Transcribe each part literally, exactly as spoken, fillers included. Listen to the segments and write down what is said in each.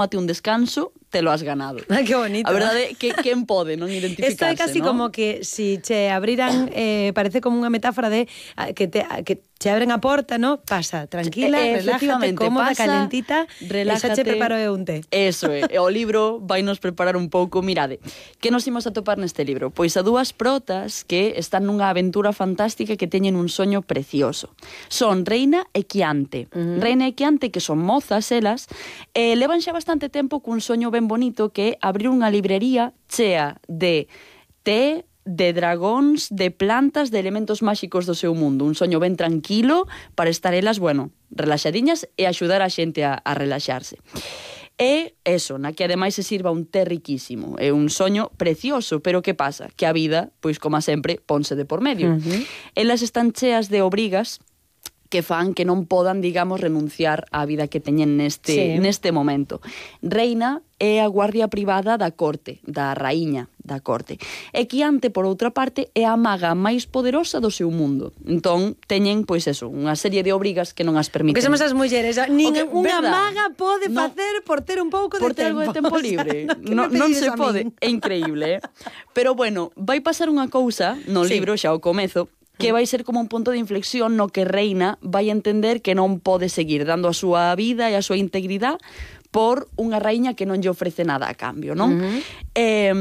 tómate un descanso, te lo has ganado. Ah, que bonito. A verdade é que quen pode non identificarse, Isto é casi ¿no? como que si che abriran, eh, parece como unha metáfora de ah, que te que che abren a porta, ¿no? Pasa, tranquila, Eh, relájate, cómoda, pasa, calentita, relájate. e xa che preparo eu un té. Eso é, e o libro vai nos preparar un pouco. Mirade, que nos imos a topar neste libro? Pois a dúas protas que están nunha aventura fantástica que teñen un soño precioso. Son Reina e Quiante. Uh -huh. Reina e Quiante, que son mozas elas, eh, levan xa bastante tempo cun soño ben bonito que é abrir unha librería chea de té, de dragóns, de plantas, de elementos máxicos do seu mundo. Un soño ben tranquilo para estar elas, bueno, relaxadiñas e axudar a xente a, a relaxarse. E eso, na que ademais se sirva un té riquísimo. É un soño precioso, pero que pasa? Que a vida, pois como sempre, ponse de por medio. Uh -huh. Elas están cheas de obrigas que fan que non podan, digamos, renunciar á vida que teñen neste, sí. neste momento. Reina é a guardia privada da corte, da raíña da corte. E Quiante, por outra parte, é a maga máis poderosa do seu mundo. Entón, teñen, pois eso, unha serie de obrigas que non as permiten. Que somos as mulleres, nin que, unha verdad, maga pode no, facer por ter un pouco de por ter tempo. algo de tempo libre. O sea, no, non se pode. É increíble, eh? Pero bueno, vai pasar unha cousa no sí. libro, xa ao comezo, que vai ser como un punto de inflexión no que Reina vai entender que non pode seguir dando a súa vida e a súa integridade por unha raíña que non lle ofrece nada a cambio, non? Uh -huh. eh,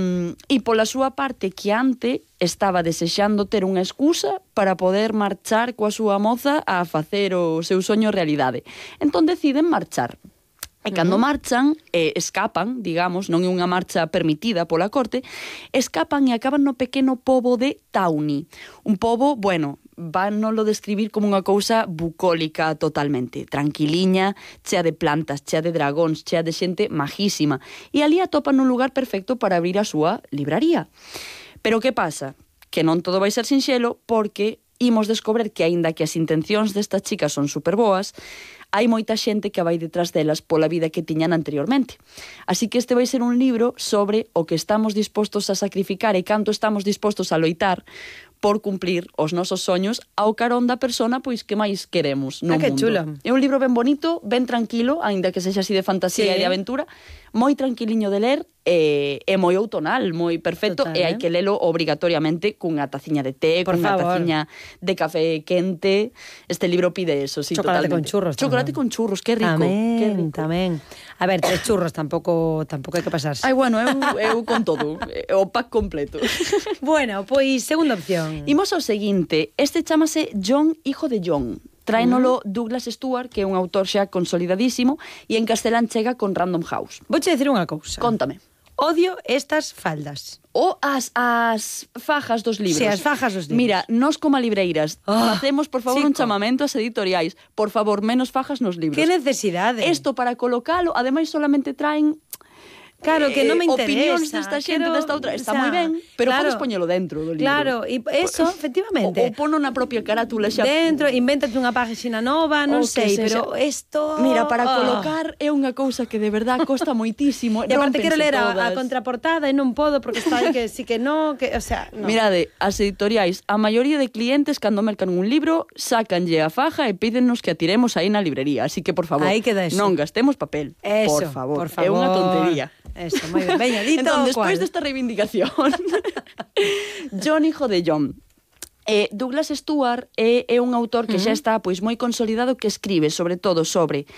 e pola súa parte, Quiante estaba desexando ter unha excusa para poder marchar coa súa moza a facer o seu soño realidade. Entón deciden marchar. E cando uh -huh. marchan, eh, escapan, digamos, non é unha marcha permitida pola corte, escapan e acaban no pequeno pobo de Tawny. Un pobo, bueno, van non lo describir como unha cousa bucólica totalmente, tranquiliña, chea de plantas, chea de dragóns, chea de xente majísima. E ali atopan un lugar perfecto para abrir a súa libraría. Pero que pasa? Que non todo vai ser sinxelo, porque imos descobrir que, aínda que as intencións destas chicas son superboas, hai moita xente que vai detrás delas pola vida que tiñan anteriormente. Así que este vai ser un libro sobre o que estamos dispostos a sacrificar e canto estamos dispostos a loitar por cumplir os nosos soños ao carón da persona pois que máis queremos no ah, que mundo. chulo. É un libro ben bonito, ben tranquilo, aínda que sexa así de fantasía sí. e de aventura, moi tranquiliño de ler e, e moi outonal, moi perfecto. Total, e hai eh? que lelo obrigatoriamente cunha taciña de té, por cunha favor. taciña de café quente. Este libro pide eso, sí, chocolate totalmente. con churros. Chocolate tamén. con churros, que rico. Tamén, que rico. tamén. A ver, tres churros tampouco tampouco hai que pasarse. Ai, bueno, eu, eu con todo, o pack completo. Bueno, pois segunda opción. Imos ao seguinte, este chámase John, hijo de John. Tráenolo Douglas Stuart, que é un autor xa consolidadísimo, e en castelán chega con Random House. Vouche dicir unha cousa. Contame. Odio estas faldas. O as, as fajas dos libros. Sí, as fajas dos libros. Mira, nós como libreiras oh, facemos, por favor, chico. un chamamento ás editoriais. Por favor, menos fajas nos libros. Que necesidade? Isto para colocalo, ademais solamente traen... Claro, que non me interesa. Opinións desta xente, Quero, desta outra. Está o sea, moi ben, pero claro, podes poñelo dentro do libro. Claro, e eso, efectivamente. O, o pono na propia carátula xa. Dentro, invéntate unha página nova, non sei, pero isto... Mira, para oh. colocar é unha cousa que de verdad costa moitísimo. E aparte quero ler a, a contraportada e non podo porque está aí que sí que no, que, o sea, no. Mirade, as editoriais, a maioría de clientes cando mercan un libro, sácanlle a faja e pídennos que a tiremos aí na librería. Así que, por favor, aí queda eso. Non gastemos papel. Eso, por favor. por favor. É unha tontería. Eso, moi ben. Veña, dito entón, despois cual. desta reivindicación, John, hijo de John. Eh, Douglas Stuart é, é un autor que uh -huh. xa está pois moi consolidado, que escribe sobre todo sobre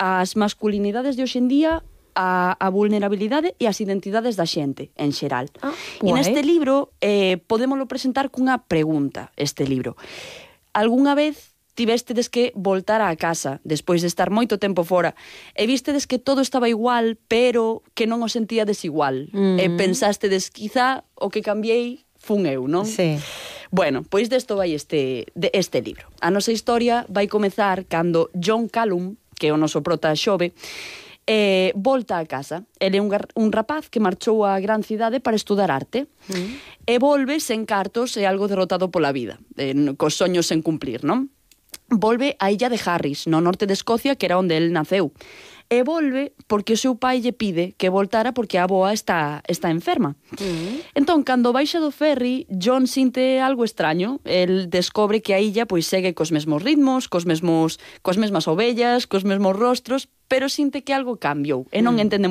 as masculinidades de hoxendía, a, a vulnerabilidade e as identidades da xente, en xeral. Ah, e neste libro eh, podémolo presentar cunha pregunta, este libro. Algúnha vez tivestedes que voltar á casa despois de estar moito tempo fora e vistedes que todo estaba igual, pero que non o sentíades igual. Mm. E pensástedes, quizá o que cambiei fun eu, non? Sí. Bueno, pois desto vai este, de este libro. A nosa historia vai comezar cando John Callum, que é o noso prota xove, eh, volta a casa. Ele é un, un rapaz que marchou á gran cidade para estudar arte mm. e volve sen cartos e algo derrotado pola vida, eh, cos soños sen cumplir, non? Volve á illa de Harris, no norte de Escocia, que era onde el naceu. e volve porque o seu pai lle pide que voltara porque a avoa está, está enferma. Uh-huh. Entón, cando baixa do ferry, John sinte algo extraño. El descobre que a illa pois segue cos mesmos ritmos, cos mesmos, coas mesmas ovellas, cos mesmos rostros, pero sinte que algo cambiou e non entende